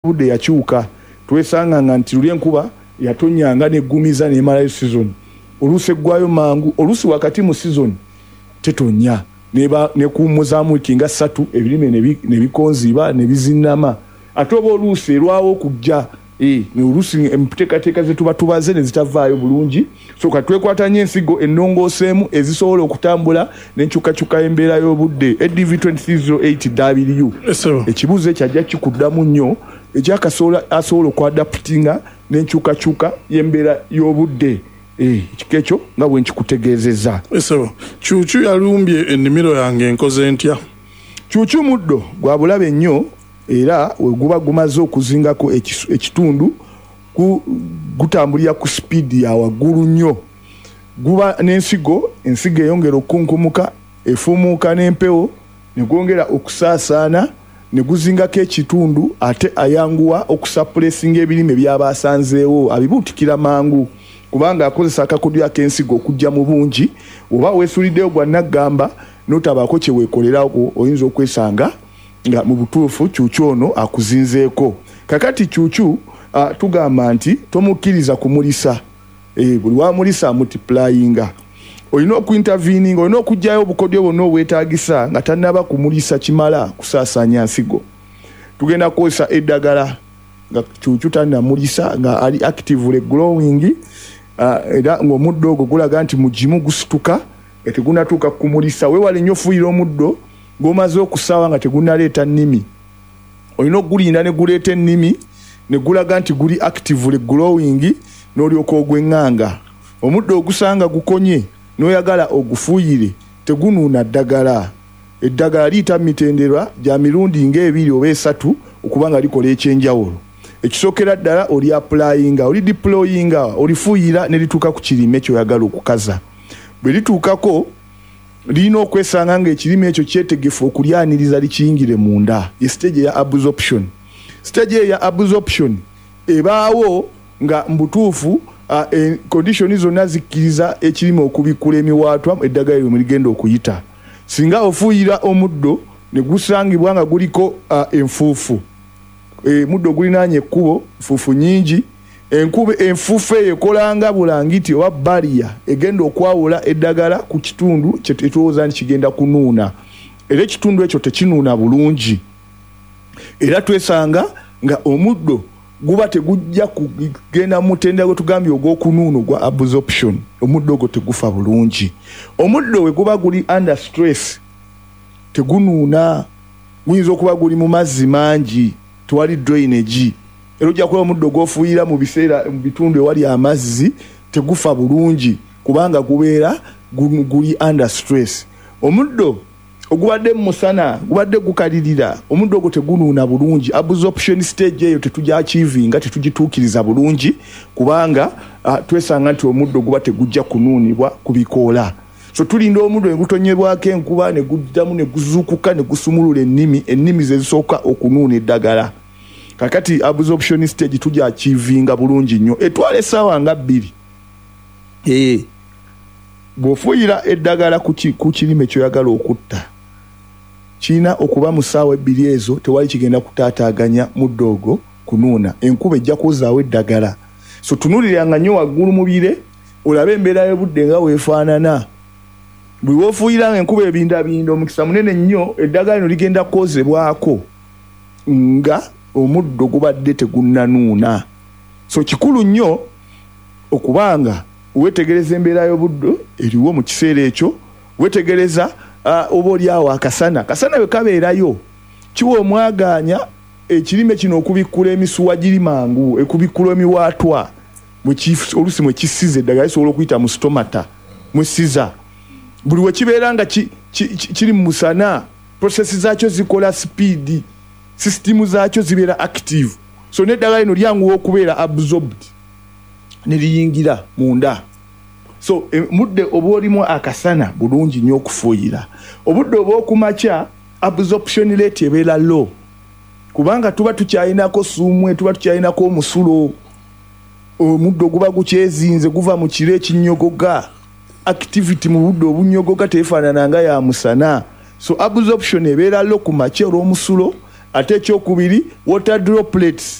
Budde yakyuka, twesanga nga nti luli enkuba yatonyanga neggumiza nemalayo sizoni, oluusi eggwayo mangu, oluusi wakati mu sizoni tetonya nekuwummuzaamu wiiki nga 3, ebirime ne bikonziba ne bizinnama, ate oba oluusi erwawo okujja, oluusi enteekateeka ze tuba tubaze ne zitavaayo bulungi. So kati twekwata nnyo ensigo ennongooseemu ezisobola okutambula n'enkyukakyuka y'embeera y'obudde. ADV 2308W ekibuuzo ekyo ajja kikuddamu nnyo, ekyakasobola asobola okuadaptinga n'enkyukakyuka y'embeera y'obudde, ekika ekyo nga bwe nkikutegeezezza. Ssebo, kyukyu yalumbye ennimiro yange, nkoze ntya? Kyukyu muddo gwa bulabe nnyo, era we guba gumaze okuzingako ekitundu gutambulira ku sipiidi ya waggulu nnyo. Guba n'ensigo, ensigo eyongera okukunkumuka, efuumuuka n'empewo ne gwongera okusaasaana ne guzingako ekitundu, ate ayanguwa okusuppressinga ebirime by'aba asanzeewo, abibuutikira mangu kubanga akozesa akakodyo ak'ensigo okujja mu bungi. Oba weesuuliddeyo gwa nnaggamba n'otabaako kye weekolerako, oyinza okwesanga nga mu butuufu kyukyu ono akuzinzeeko. Kakati kyukyu tugamba nti tomukkiriza kumulisa, buli wamulisa amultiplyinga. Olina okuinterveninga, olina okuggyayo obukodyo bwonna obwetaagisa nga tannaba kumulisa kimala kusaasaanya nsigo. Tugenda kukozesa eddagala nga kyukyu tannamulisa, nga ali actively growing, era ng'omuddo ogwo gulaga nti mugimu gusituka nga tegunnatuuka kumulisa. Weewale nnyo ofuuyira omuddo ng'omaze okusaawa nga tegunnaleeta nnimi. Olina okugulinda ne guleeta ennimi ne gulaga nti guli actively growing, n'olyoka ogw'eŋŋanga. Omuddo ogusanga gukonye n'oyagala ogufuuyire, tegunuuna ddagala. Eddagala liyita mu mitendera gya mirundi ng'ebiri oba esatu okuba nga likola ekyenjawulo. Ekisookera ddala oli applyinga, oli deployinga, olifuuyira ne lituuka ku kirime ky'oyagala okukaza. Bwe lituukako lirina okwesanga ng'ekirime ekyo kyetegefu okulyaniriza likiyingire munda, ye stage eya absorption. Stage eyo eya absorption ebaawo nga mu butuufu condition zonna zikkiriza ekirime okubikkula emiwaatwa eddagala eryo mwe ligenda okuyita. Singa ofuuyira omuddo ne gusangibwa nga guliko enfuufu, muddo gulinaanye ekkubo, nfuufu nnyingi, enkuba enfuufu eyo ekola nga bulangiti oba barrier egenda okwawula eddagala ku kitundu kye tulowooza nti kigenda kunuuna, era ekitundu ekyo tekinuuna bulungi, era twesanga nga omuddo guba tegujja kugenda mu mutendera gwe tugambye ogw'okunuuna ogwa absorption. Omuddo ogwo tegufa bulungi. Omuddo we guba guli under stress tegunuuna, guyinza okuba guli mu mazzi mangi, tewali drainage, era ojja kulaba omuddo gw'ofuuyira mu biseera mu bitundu ewali amazzi tegufa bulungi kubanga gubeera guli under stress. Omuddo ogubadde mu musana gubadde gukalirira, omuddo ogwo tegunuuna bulungi. Absorption stage eyo tetugyakiivinga, tetugituukiriza bulungi kubanga twesanga nti omuddo guba tegujja kunuunibwa ku bikoola. So tulinda omuddo ne gutonyebwako enkuba ne guddamu ne guzuukuka ne gusumulula ennimi, ennimi ze zisooka okunuuna eddagala. Kakati absorption stage tugyakiivinga bulungi nnyo, etwala essaawa nga 2. Bw'ofuuyira eddagala ku kirime ky'oyagala okutta, kirina okuba mu ssaawa 2 ezo tewali kigenda kutaataaganya muddo ogwo kunuuna. Enkuba ejja kwozaawo eddagala. So tunuuliranga nnyo waggulu mu bire olabe embeera y'obudde nga weefaanana. Buli w'ofuuyira nga enkuba ebindabinda, omukisa munene nnyo eddagala lino ligenda kwozebwako nga omuddo gubadde tegunnanuuna. So kikulu nnyo okubanga weetegereza embeera y'obudde eriwo mu kiseera ekyo, weetegereza oba oli awo akasana. Akasana bwe kabeerayo kiwa omwagaanya ekirime kino okubikkula emisuwa giri mangu, okubikkula emiwaatwa oluusi mwe kisiza eddagala lisobola okuyita mu stomata mwesiza. Buli we kibeera nga kiri mu musana, process zaakyo zikola sipiidi, sisitimu zaakyo zibeera active, so n'eddagala lino lyanguwa okubeera absorbed ne liyingira munda. So mudde oba olimu akasana bulungi nnyo okufuuyira. Obudde obw'okumakya absorption rate ebeera low kubanga tuba tukyalinako ssuumwe, tuba tukyalinako omusulo, omuddo guba gukyezinze guva mu kiro ekinyogoga. Activity mu budde obunyogoga tefaanana nga ya musana, so absorption ebeera low ku makya olw'omusulo. Ate ekyokubiri, water droplets.